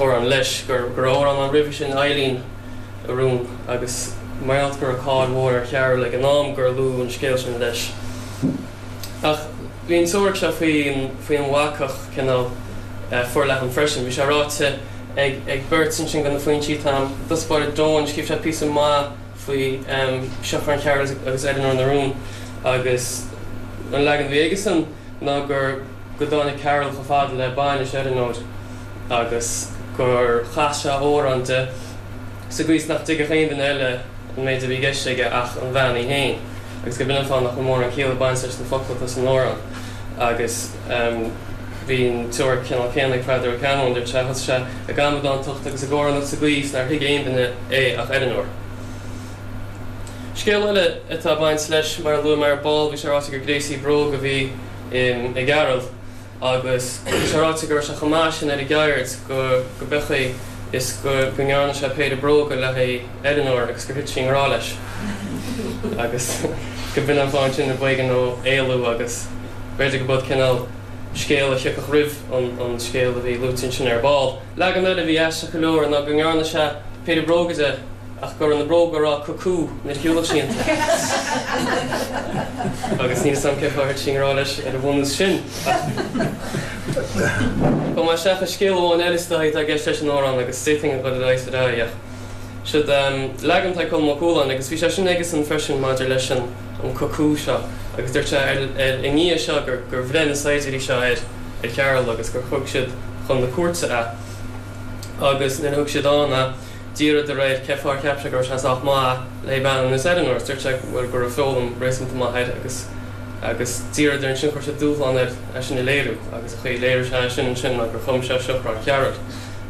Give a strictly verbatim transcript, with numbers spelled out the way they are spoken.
t-amhrán leis, gur go raibh amhrán ann roimhe sin, Eileen a Rún, agus mar gheall go raibh cáil mhór ar Chearúll ag an am gur luadh an scéal sin leis. Ach bhí an teoiric seo faoin faoin bhacach cineál forleathan freisin. Bhí sé ráite ag ag beirt ansin de na foinsí atá agam. I dtosach báire Doane, scríobh sé píosa maith faoi Seachrán Chearúil agus Eileanóir na Rún agus an leagan a bhí aigesan ná gur go dtáinig Cearúll chomh fada le bainis Eileanóir agus gur chas sé amhrán di sa gcaoi is nach dtuigfeadh aon duine eile an méid a bhí i gceist aige ach an bhean í féin agus gurb in an fáth nach bhfuil mórán ciall ag baint leis na focla atá san amhrán. Agus bhí an teoiric cineál céanna ag Peadar Ó Ceannabháin, dúirt sé, thosaigh sé ag amadántacht agus ag amhránaíocht sa gcaoi is nár thuig aon duine é ach Eileanóir. Scéal eile atá ag baint leis, mar a luaigh mé ar ball, bhí sé ráite gur gréasaí bróg a bhí i gCearúll. Agus tá sé ráite go raibh sé chomh maith sin ar an gceird go go b'é an chaoi is go go ndearna sé péire bróga le haghaidh Eileanóir agus gur thit sí i ngrá leis. Agus go b'in an fáth ansin a b'éigean dó éalú agus b'fhéidir go b'eod cineál scéal a thiocfadh roimh an an scéal a bhí luaite ansin ar ball. Leagan eile a bhí aisteach go leor ná go ndearna sé péire bróga di ach go raibh na bróga ag rá cucú nuair a shiúladh sí iontu. Agus níl 'fhios a'm cén fáth ar thit sí i ngrá leis ar an bhunús sin, ach gabhfaidh mé isteach i scéal amháin eile is dóigh atá i gceist leis an amhrán agus d'fhéadfainn a dhul ar aghaidh is ar aghaidh ach siod leagan atá ag Colm Ó Cualáin agus bhí sé sin aigesan freisin maidir leis an an cucú seo agus dúirt sé ar ar i ndiaidh seo gur gur bhreith na saighdiúirí seo ar ar Chearúll agus gur thug siad chun na cúirte é agus nuair a thug siad ann é D'iarradar air cé fáth ar cheap sé go raibh sé sách maith le bean ar nós Eileanóir agus dúirt sé bhuel go raibh foghlaim réasúnta maith air agus agus d'iarradar ansin chuir siad dúshlán air é sin a léiriú agus an chaoi a léirigh sé é sin ansin ná gur chum sé Seachrán Chearúil